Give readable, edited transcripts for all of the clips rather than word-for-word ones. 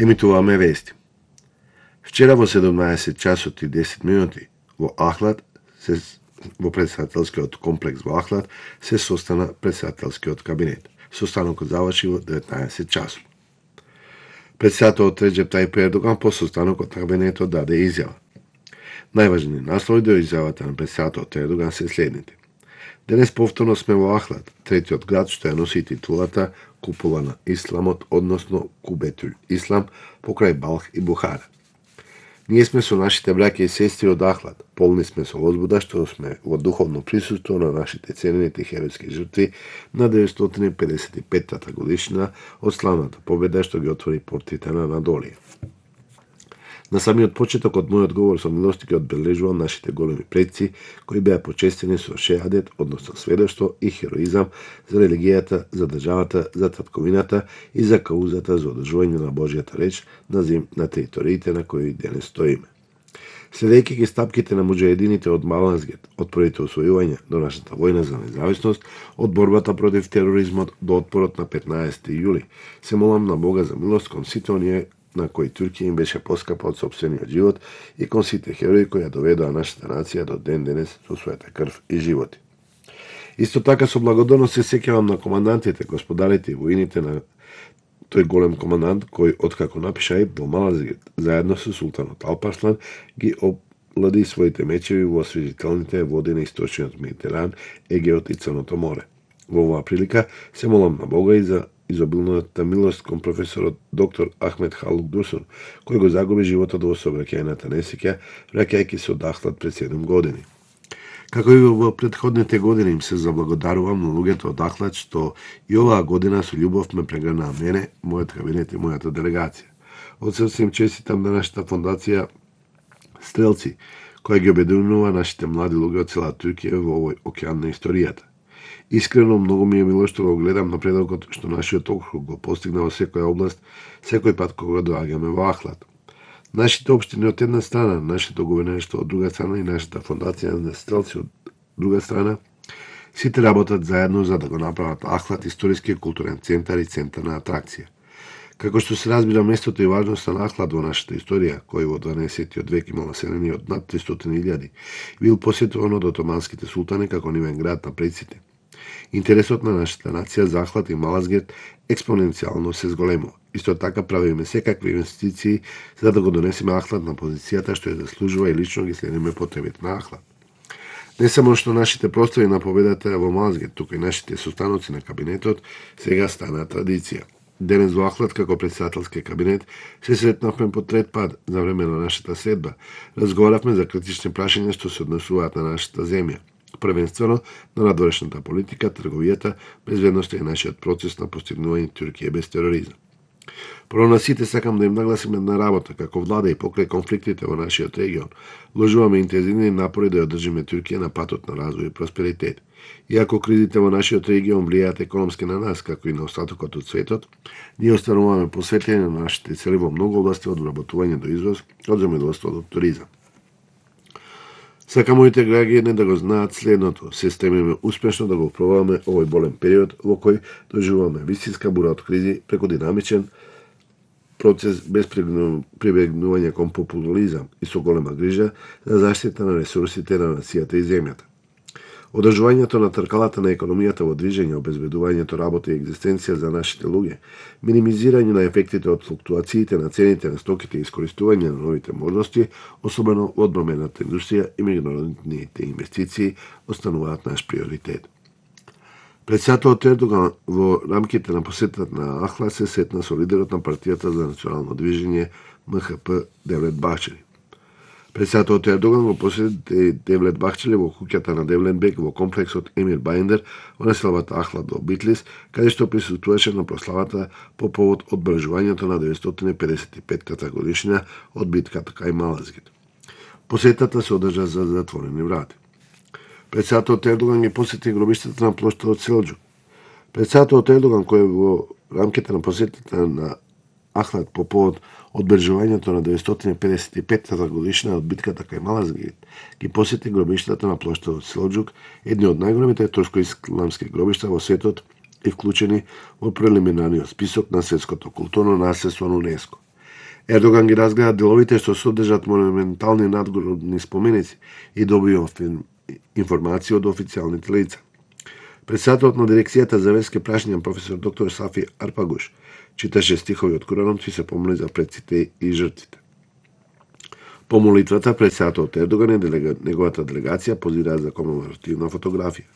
Емитуваме вести. Вчера во 17 часот и 10 минути во Ахлад во председателскиот комплекс во Ахлад се состана председателскиот кабинет. Состанокот заврши во 19 часот. Председателот Реджеп Тајип Ердоган по состанокот на кабинетот даде изјава. Најважни наслови до изјавата на председателот Ердоган се следните. Денес повторно сме во Ахлад, третиот град што ја носи титулата Купола на Исламот, односно Кубетул Ислам, покрај Балх и Бухара. Ние сме со нашите браќа и сестри од Ахлад, полни сме со возбуда што сме во духовно присуство на нашите ценените херојски жртви на 955-та годишнина од славната победа што ги отвори портите на Анадолија. На самиот почеток од мојот говор со милости ги одбележувам нашите големи предци кои беа почестени со шеадет, односно сведоштво и хероизам за религијата, за државата, за татковината и за каузата за одржување на Божјата реч на териториите на кои денес стоиме. Следејќи ги стапките на муџаедините од Малазгет, од првите освојувања до нашата војна за независност, од борбата против тероризмот до отпорот на 15 јули, се молам на Бога за милост кон сите оние на кои Туркија им беше поскапа од сопствениот живот и кон сите херои кои ја доведоа нашата нација до ден денес со својата крв и животи. Исто така со благодарност се сеќавам на командантите, господарите и воините на тој голем командант кој откако напиша Аиб во Малазгет, заедно со султанот Алпарслан ги облади своите мечеви во освежителните води на источниот Медитеран, Егеот и Црното море. Во оваа прилика се молам на Бога и за изобилната милост кон професорот доктор Ахмед Халук Дурсун, кој го загуби животот во сообраќајната несреќа, враќајќи се од Ахлад пред 7 години. Како и во претходните години им се заблагодарувам на луѓето од Ахлад што и оваа година со љубов ме прегрнаа мене, мојот кабинет и мојата делегација. Од срце им честитам на нашата фондација Стрелци, која ги обединува нашите млади луѓе од цела Туркија во овој океан на историјата. Искрено многу ми е мило што го гледам напредокот што нашиот округ го постигна во секоја област, секој пат кога доаѓаме во Ахлад. Нашите општини од една страна, нашето гувернерство од друга страна и нашата фондација на Стрелци од друга страна, сите работат заедно за да го направат Ахлад историски културен центар и центар на атракција. Како што се разбира местото и важноста на Ахлад во нашата историја, кој во 12 век имал население од над 300.000, бил посетуван од отоманските султани како нивен град на предците. Интересот на нашата нација за Ахлад и Малазгет експоненцијално се зголемува. Исто така правиме секакви инвестиции за да го донесеме Ахлад на позицијата што ја заслужува и лично ги следиме потребите на Ахлад. Не само што нашите прослави на победата во Малазгет, туку и нашите состаноци на кабинетот сега стана традиција. Денес во Ахлад како председателски кабинет се сретнавме по трет пат за време на нашата средба. Разговаравме за критични прашања што се однесуваат на нашата земја. Првенствено на надворешната политика, трговијата, безбедноста и нашиот процес на постигнување Туркија без тероризам. Прво на сите сакам да им нагласим една работа, како влада и покрај конфликтите во нашиот регион. Вложуваме интензивни напори да ја одржиме Туркија на патот на развој и просперитет. Иако кризите во нашиот регион влијаат економски на нас, како и на остатокот од светот, ние остануваме посветени на нашите цели во многу области од вработување до извоз, од земјоделство до туризам. Сакам моите граѓани да го знаат следното. Се стремиме успешно да го пробаваме овој болен период во кој доживуваме вистинска бура од кризи преку динамичен процес без прибегнување кон популизам и со голема грижа за заштита на ресурсите на нацијата и земјата. Одржувањето на тркалата на економијата во движење, обезбедувањето работа и екзистенција за нашите луѓе, минимизирање на ефектите од флуктуациите на цените на стоките и искористување на новите можности, особено во одбрамбената индустрија и меѓународните инвестиции, остануваат наш приоритет. Председателот Ердоган во рамките на посетата на Ахлад се сретна со лидерот на партијата за национално движење МХП Девлет Бахчели. Председателот Ердоган го посети Девлет Бахчели во куќата на Девленбек во комплексот Емир Бајндер во населбата Ахлад во Битлис, каде што присуствуваше на прославата по повод одбележувањето на 955-та годишнина од битката кај Малазгет. Посетата се одржа за затворени врати. Председателот Ердоган ги посети гробиштата на плоштадот Селџук. Председателот Ердоган, кој во рамките на посетата на Ахлад по повод одбележувањето на 955-та годишнина од битката кај Малазгет, ги посети гробиштата на плоштадот Селџук, едни од најголемите турско-исламски гробишта во светот и вклучени во прелиминарниот список на светското културно наследство на УНЕСКО. Ердоган ги разгледа деловите што содржат монументални надгробни споменици и добија информации од официјалните лица. Председателот на дирекцијата за верски прашања професор доктор Сафи Арпагуш читаше стихови од Куранот и се помоли за предците и жртвите. По молитвата председателот Ердоган и неговата делегација позираа за комеморативна фотографија.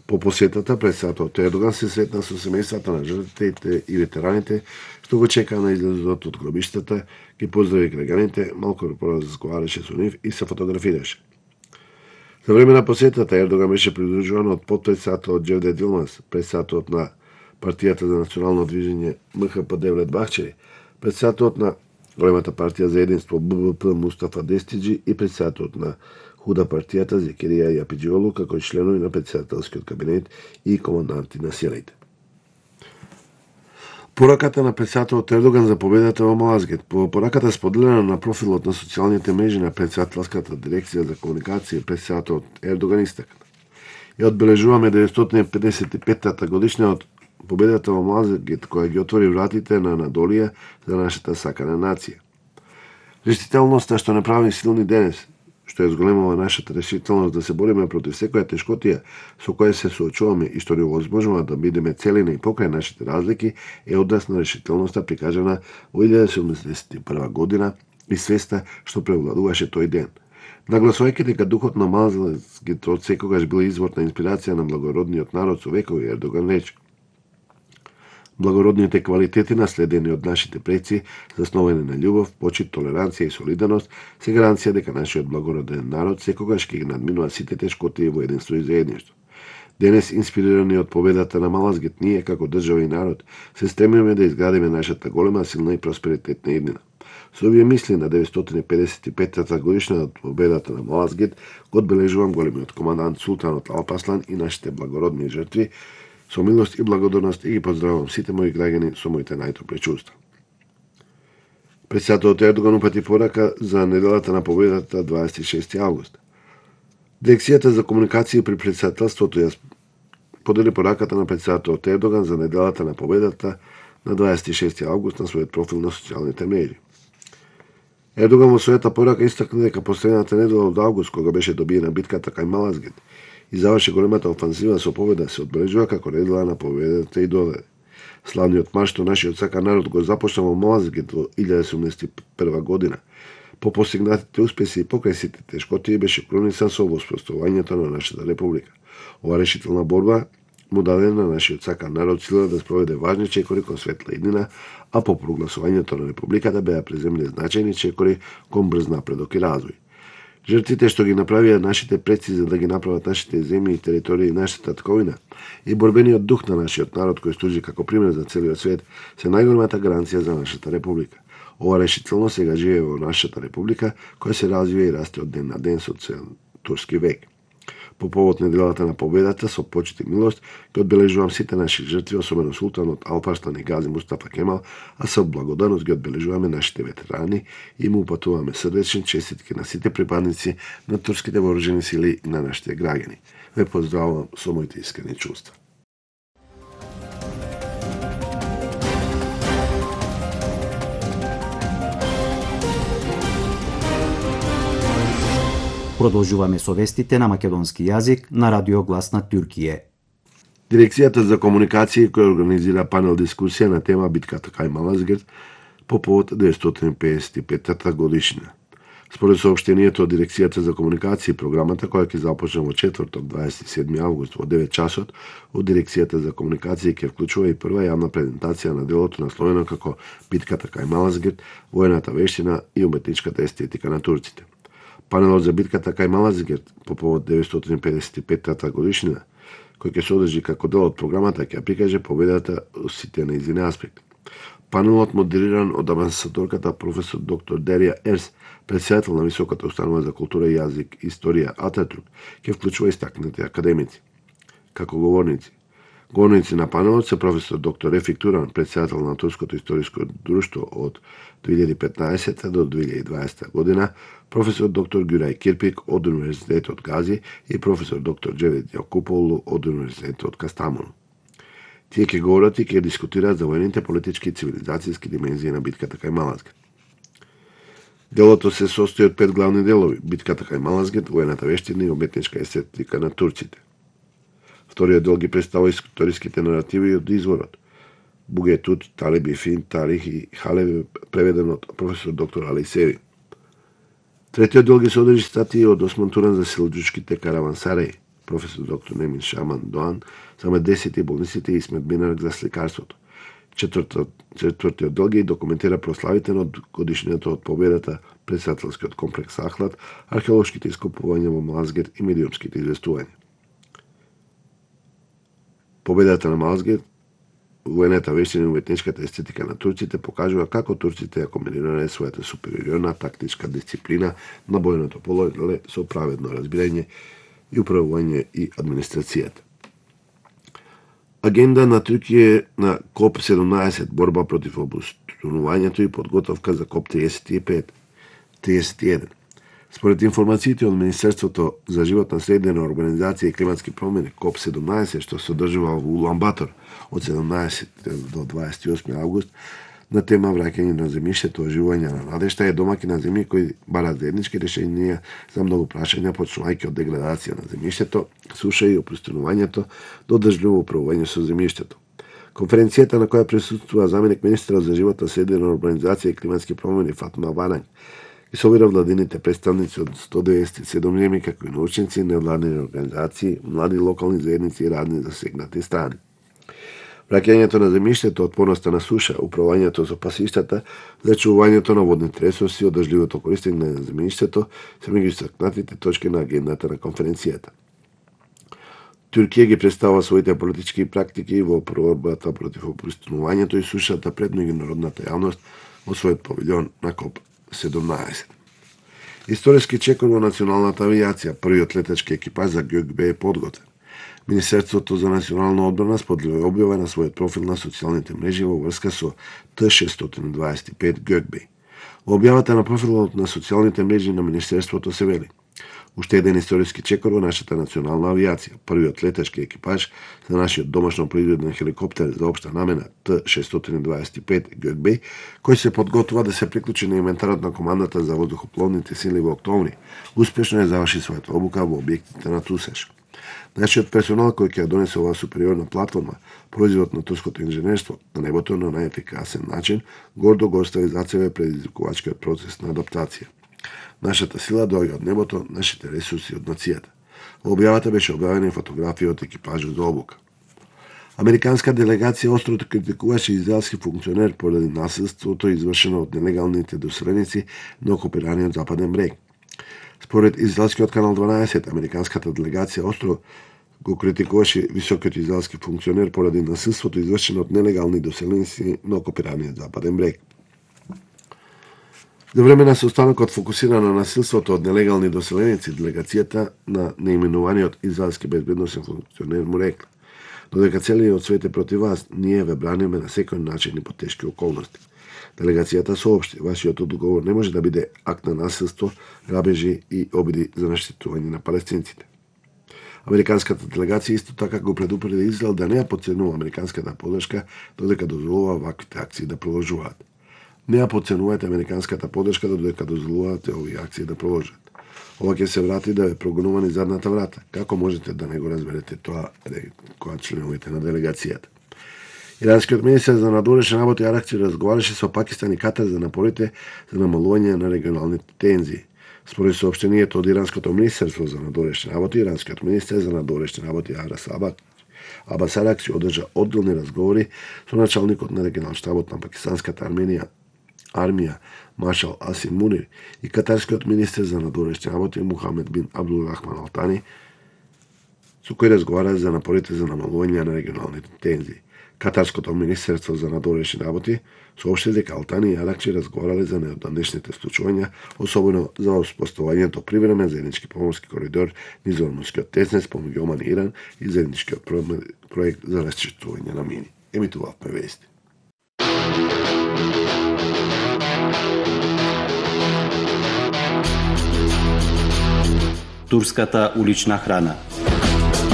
По посетата председателот Ердоган се сретна со семејствата на жртвите и ветераните што го чекаа на излезот од гробиштата, ги поздрави граѓаните, малку поразговараше со нив и се фотографираше. За време на посетата Ердоган беше придружуван од потпредседателот Џевдет Илмаз, председателот на партијата за национално движење МХП Девлет Бахчери, председателот на големата партија за единство ББП Мустафа Дестиџи и председателот на Худа партијата Зекерија Јапиџиолу, како и членови на председателскиот кабинет и команданти на силите. Пораката на председателот Ердоган за победата во Малазгет. По пораката споделена на профилот на социјалните мрежи на председателската дирекција за комуникација, председателот Ердоган истакна: ја одбележуваме 955-та годишна од победата во Малазгет, која ги отвори вратите на Анадолија за нашата сакана нација. Решителноста што не прави силни денес, што ја зголемува нашата решителност да се бориме против секоја тешкотија со која се соочуваме и што ни овозможува да бидеме целина и покрај нашите разлики, е однос на решителноста прикажана во 1971 година и свеста што превладуваше тој ден. Нагласувајќи дека духот на Малазгет од секогаш бил извор на инспирација на благородниот народ со векови, Ердоган рече: благородните квалитети наследени од нашите предци, засновани на љубов, почит, толеранција и солидарност, се гаранција дека нашиот благороден народ секогаш ќе ги надминува сите тешкоти во единство и заедништво. Денес, инспирирани од победата на Малазгет, ние како држава и народ се стремиме да изградиме нашата голема, силна и просперитетна иднина. Со овие мисли на 955-та годишна од победата на Малазгет го одбележувам големиот командант Султанот Алпаслан и нашите благородни жртви. Со милост и благодарност и ги поздравувам сите мои граѓани со моите најтопли чувства. Председателот Ердоган упати порака за неделата на победата 26 август. Дирекцијата за комуникација при председателството ја подели пораката на председателот Ердоган за неделата на победата на 26 август на својот профил на социјалните мрежи. Ердоган во својата порака истакна дека последната недела од август, кога беше добиена битката кај Малазгет и заврши големата офанзива со победа, се одбележува како недела на победата и додаде: славниот марш што нашиот сакан народ го започна во Малазгет во 1971 година. По постигнатите успеси и покрај сите тешкоти беше крунисан со воспоставувањето на нашата република. Ова решителна борба му даде на нашиот сакан народ сила да спроведе важни чекори кон светла иднина, а по прогласувањето на републиката беа преземени значајни чекори кон брз напредок и развој. Жртвите што ги направија нашите предци за да ги направат нашите земји и територии и нашата тковина и борбениот дух на нашиот народ кој служи како пример за целиот свет се најголемата гаранција за нашата република. Ова решително сега живее во нашата република која се развива и расте од ден на ден со цел турски век. По повод неделата на победата, со почит и милост, ќе одбележувам сите наши жртви, особено Султанот Алпаслан и Гази Мустафа Кемал, а со благодарност ги одбележуваме нашите ветерани и му упатуваме срдечни честитки на сите припадници на турските вооружени сили и на нашите граѓани. Ве поздравувам со моите искрени чувства. Продолжуваме со вестите на македонски јазик на Радио Глас на Туркија. Дирекцијата за комуникација која организира панел дискусија на тема битката кај Малазгет по повод 955-та годишнина. Според соопштението од Дирекцијата за комуникација, програмата која ќе започне во четврток 27 август во 9 часот од Дирекцијата за комуникација ќе вклучува и прва јавна презентација на делото насловено како битката кај Малазгет, воената вештина и уметничката естетика на турците. Панелот за битката кај Малазгет по повод 955-та годишнина, кој ќе се одржи како дел од програмата, ќе прикаже победата во сите нејзини аспекти. Панелот, модериран од амбасадорката професор доктор Дерија Ерс, председател на Високата установа за култура и јазик и историја Ататурк, ќе вклучува истакнати академици. Како говорници на панелот се професор доктор Рефик Туран, председател на Турското историско друштво од 2015 до 2020 година, професор доктор Гюрај Кирпик од Универзитетот Гази и професор доктор Џевдет Јакуполу од Универзитетот Кастамону. Тие ќе говорат и ќе дискутираат за воените, политички и цивилизацијски димензии на битката кај Малазгет. Делото се состои од 5 главни делови: битката кај Малазгерт, воената вештина и уметничка естетика на турците. Вториот дел ги представува историските наративи од изворот. Бугетут, Талеби, Фин, Тарих и Халеви, преведен од професор доктор Али Севи. Третиот дел ги содржи статии од Осман Туран за селџуčките каравансареи, професор доктор Немин Шаман Доан, за медесите и болниците и Исмет Бинарак за сликарството. Четвртиот дел ги документира прославите од годишнината од победата, председателскиот комплекс Ахлад, археолошките ископувања во Малазгерт и медиумските известувања. Победата на Малазгерт, воената вештина и уметничката естетика на турците покажува како турците ја комбинирале својата супериорна тактичка дисциплина на бојното поле со праведно разбирање и управување и администрацијата. Агенда на Туркија на КОП-17, борба против обустронувањето и подготовка за КОП-31. Според информациите од Министерството за животна средина, урбанизација и климатски промени КОП-17, што се одржува во Улан Батор од 17 до 28 август, на тема враќање на земјиштето, оживување на надежта, е домаќин на земји кои барат заеднички решенија за многу прашања, почнувајќи од деградација на земјиштето, суша и опустинувањето до држливо управување со земјиштето. Конференцијата на која присуствува заменик министерот за животна средина, урбанизација и климатски промени Фатма Варанг и собира владините представници од 197 земји, како и научници, невладини организации, млади локални заедници и разни засегнати страни. Враќањето на земјиштето, отпорноста на суша, управувањето со пасиштата, зачувувањето на водните ресурси и одржливото користење на земјиштето се меѓу истакнатите точки на агендата на конференцијата. Туркија ги представува своите политички практики во борбата против опустинувањето и сушата пред меѓународната јавност во својот павилјон на КОП-17. Историски чекор во националната авијација, првиот летачки екипаж за ГКБ е подготвен. Министерството за национална одбрана споделува објава на својот профил на социјалните мрежи во врска со Т-625 ГКБ. Во објавата на профилот на социјалните мрежи на Министерството се вели: уште еден историски чекор во нашата национална авијација, првиот летачки екипаж за нашиот домашно произведен хеликоптер за општа намена Т-625 ГКБ, кој се подготвува да се приклучи на инвентарот на командата за воздухопловните сили во октомври, успешно ја заврши својата обука во објектите на ТУСЕШ. Нашиот персонал кој ќе ја донесе оваа супериорна платформа, производ на турското инженерство, на небото на најефикасен начин, гордо го остави за себе предизвикувачкиот процес на адаптација. Нашата сила доаѓа од небото, нашите ресурси од нацијата. Во објавата беше објавена и фотографија од екипажот за обука. Американска делегација остро критикуваше израелски функционер поради насилството извршено од нелегалните доселеници на окупираниот Западен брег. Според израелскиот канал 12, американската делегација остро го критикуваше високиот израелски функционер поради насилството извршено од нелегални доселеници на окупираниот Западен брег. За време на состанокот фокусира на насилството од нелегални доселеници, делегацијата на неименуваниот израелски безбедносен функционер му рекла: додека целиот свет е против вас, ние ве браниме на секој начин и по тешки околности. Делегацијата соопшти: вашиот одговор не може да биде акт на насилство, грабежи и обиди за наштетување на палестинците. Американската делегација исто така го предупреди Израел да не ја потценува американската подршка додека дозволува ваквите акции да продолжуваат. Не ја потценувајте американската подршка додека дозволувате овие акции да продолжат. Ова ќе се врати да ве прогонува низ задната врата. Како можете да не го разберете тоа, кога членовите на делегацијата? Иранскиот министер за надворешни работи Аракчи разговараше со Пакистан и Катар за напорите за намалување на регионалните тензии. Според соопштението од Иранското министерство за надворешни работи, иранскиот министер за надворешни работи Абас Аракчи одржа одделни разговори со началникот на регионален штабот на пакистанската армија маршал Асим Мунир и катарскиот министер за надворешни работи Мухамед бин Абдул Рахман Ал Тани, со кој разговара за напорите за намалување на регионалните тензии. Катарското министерство за надворешни работи соопшти дека Ал Тани и Аракчи разговарале за неодамнешните случувања, особено за успоставувањето привремен заеднички поморски коридор низ Ормускиот теснец помеѓу Оман и Иран и заедничкиот проект за расчистување на мини. Емитувавме вести. Турската улична храна.